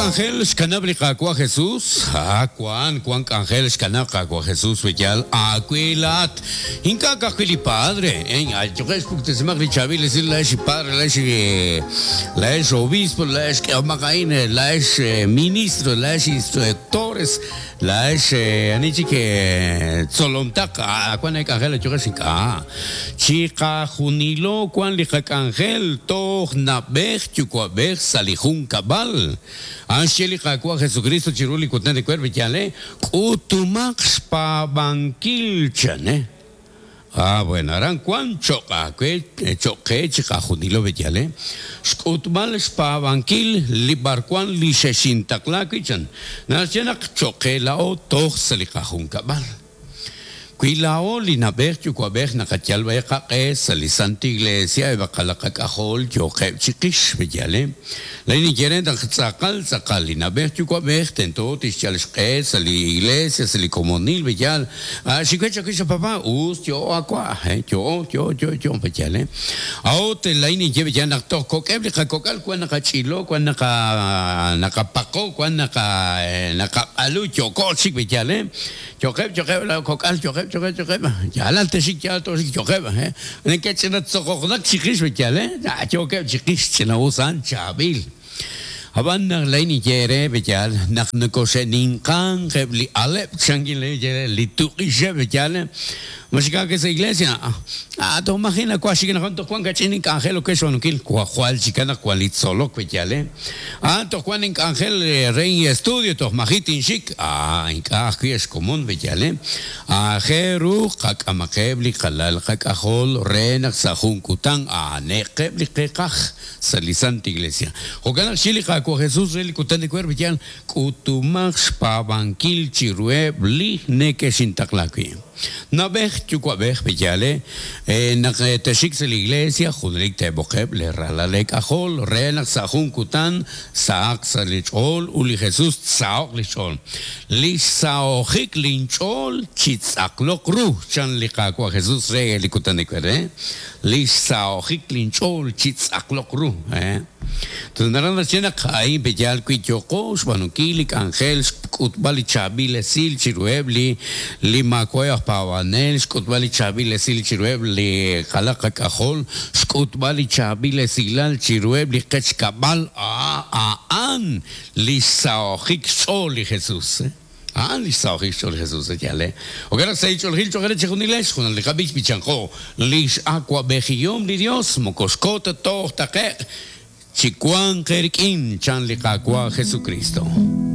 k'anjel xkanab' li Qaawa' Jesus? A Wank, wank k'anjel xkanab' Qaawa' Jesus wi yaal aawe laa'at. Ink'a' ka'ajwi' li padre, Ayuqex puktesimaq li chaab'il esil laa'ex li padre, laa'ex laa'ex obispo, laa'ex k'ehomaq a'in, laa'ex ministro, laa'ex instructores, laa'ex ani chik tzolomtaq, wan eek'anjel ayuqex ink'a'. Chiqajunilo wan li qak'anjel toj na'b'ej yuwa'b'ej sa' li junkab'al. A'an xye li Qaawa' Jesukristo chiru li kutan ewer bi yaal e, K'utumaq xpaab'ankil chan e. Ah, bueno, aran wan cho'q aawe, cho'q qe chiqajunilo bi yaal e, xk'utb'al xpaab'ankil li b'arwan li xexintaqla wi' chan. Naxye naq cho'q qe laa'o toj sa' li qajunkab'al. Wi laa'o li na'b'ej yuwa'b'ej naqayal b'ayaq qaq'e sa' li Santa Iglesia eb' qalaq qak'ajol yooqeb' chiqix, b'eyal e? Laa'in ninye re naq tz'aqal tz'aqal li na'b'ej yuwa'b'ej tento tixyal xq'e sa' li Iglesia, sa' li komonil, b'eyal. Xiwe chawix a papá, us yo'o a wa', yo'o, yo'o, yo'o, yo'o, b'eyal e? A'ut laa'in ninye b'eyal naq toj kok'eb' li qakok'al wan naqach'ilo, wan naqa naqapaqo, wan naqa naqaq'alu, yo'ko chik b'eyal e? Yo'qeb', yo'qeb' laa kok'al, yo'qeb', yo'qeb', yo'qeb'. Yaalal texik, yaal tooxik, yo'qeb', he. Neke'ch'inatzoqoqnak chiqix, b'eyal, he. Yookeb' chiqix, ch'ina'us a'an, chaab'il. Ab'an naq laa'in ninye eere, b'eyal, naq nokoxe'ninqanq eb' li aleb', chankin laa'in ninye eere, li tuq'ixeb', b'eyal, ma xik aake sa' iglesia? Ah, toj maji' nawaj xik anaqwan, toj wank kach'in ink'anjel ok xb'aanunkil, jwal chikan naq wank li tzolok, b'eyal, he. Ah, toj wank ink'anjel re inestudio, toj maji' tinxik. Ah, ink'a' ajwi' ex komon b'eyal, Aajel ru qak'amaqeb' li qalal qak'ajol re naq sa' jun kutan a'anaqeb' li qeeqaj sa' li Santa Iglesia. Jo'kan naq xye li Qaawa' Jesus re li kutan ewer b'eyal, K'utumaq xpaab'ankil chiruheb' li nekexintaqla wi'. Na'b'ej yuwa'b'ej b'eyal e, naq texxik sa' li iglesia, junelik teeb'oqeb' lee ralal eek'ajol re naq sa' jun kutan sahaq sa' li ch'ool ut li Jesus tsaho'q li xch'ool. Li xsaho'jik linch'ool chitz'aqloq ru, chan li Qaawa' Jesus re li kutan ewer e. Li xsaho'jik linch'ool chitz'aqloq ru. Ut naraj naxye naq a'in pe'yaal wi yooqo xb'aanunkil li k'anjel xk'utb'al li chaab'il esil chiruheb' li li maawa'eb' aj paab'anel, xk'utb'al li chaab'il esil chiruheb' li qalaq qak'ajol, xk'utb'al li chaab'il esilal chiruheb' li qech kab'al, a'an li xsaho'jik xch'ool li Jesús. A'an li xsaho'jik xch'ool li Jesús, yaal e. Jo'kan naq sa' ch'oolejil cho'q eere chejunilex, junal li qab'ich b'ichanqo, Li x'awa'b'ejihom li Yos moko xko ta toj taqe'q, chiwanq eerik'in, chan li Qaawa' Jesukristo.